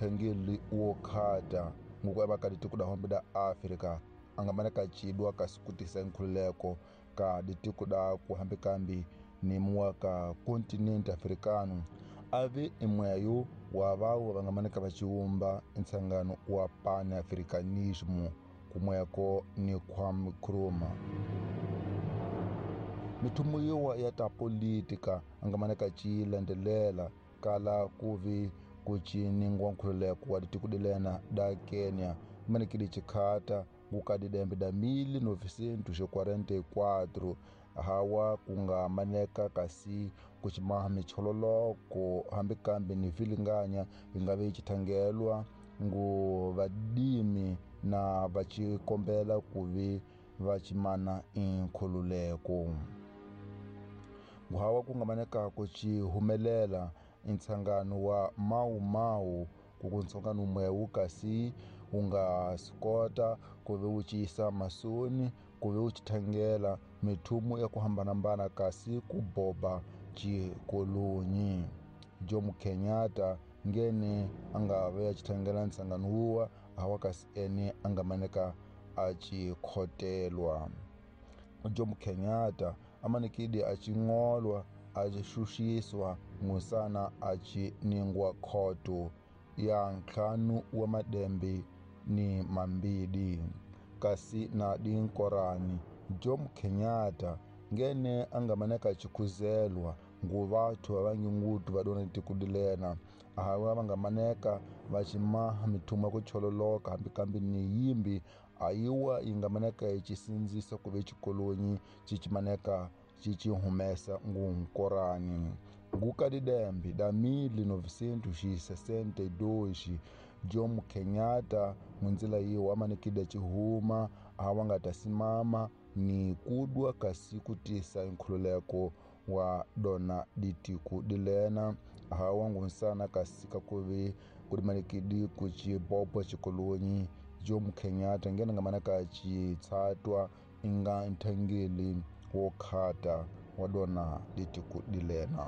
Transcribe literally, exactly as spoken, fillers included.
Nthangeli wo khata nguku eva ka ditiko da hombe da Afrika a nga maneka cidwa kasi ku tisa nkhululeko ka ditiko da ku hambikambi ni muwa ka kontinente africano ave imweyo wa vawo va nga maneka va ciwumba ntsangano wa Pan-Africanismo kumweko ni Kwame Nkrumah. Mithumo yiwa ya ta politika a nga maneka ci landzelela kala kuvi ku ciningwa nkhululeko wa ditiko dilena da Kenya manekile chikhata nguka didembe da mil novecentos e quarenta e quatro hawa ku nga maneka kasi ku cimaha michololoko hambikambi ni vilinganya yi nga vi chithangelwa ngu vadimi na va cikombela ku vi va cimana inkhululeko. Hawa ku nga maneka ku ci humelela ntsangano wa Mau Mau ku ku ntsongano mwewu kasi wu nga swi kota ku ve wu ciyisa masoni ku ve wu chithangela mithumo ya ku hambanahambana kasi ku boba xikolonyi. Jomo Kenyatta ngene a nga ve ya chithangela ntsangano wuwa hawa kasi ene a nga maneka a chikhotelwa. Jomo Kenyatta a manekile a chingolwa a xuxiswa ngusana a ciningwa khoto ya ntlhanu wa madembe ni mambili kasi na dinkorani. Jomo Kenyatta ngene a nga maneka chikhuzelwa ngu vathu va vangi ngutu va dona tiko dilena hawa va nga maneka va cimaha mithumo ya ku chololoka hambikambi ni yimbi ayiwa yi nga maneka yi cisindzisa ku ve xikolonyi ci cimaneka ci ci humesa ngunkorani. Nguka didembe da mil novecentos e sessenta e dois Jomo Kenyatta munzila yiwa amanekile cihuma hawa nga ta simama ni kudwa kasi kutisa nkhululeko wa dona ditiku dilena hawa ngunsana kasi kakuvi kudimanekidi ku cibobo xikolonyi. Jomo Kenyatta ngena nga maneka citshatwa inga nthangeli wo khata wa dona ditiku dilena.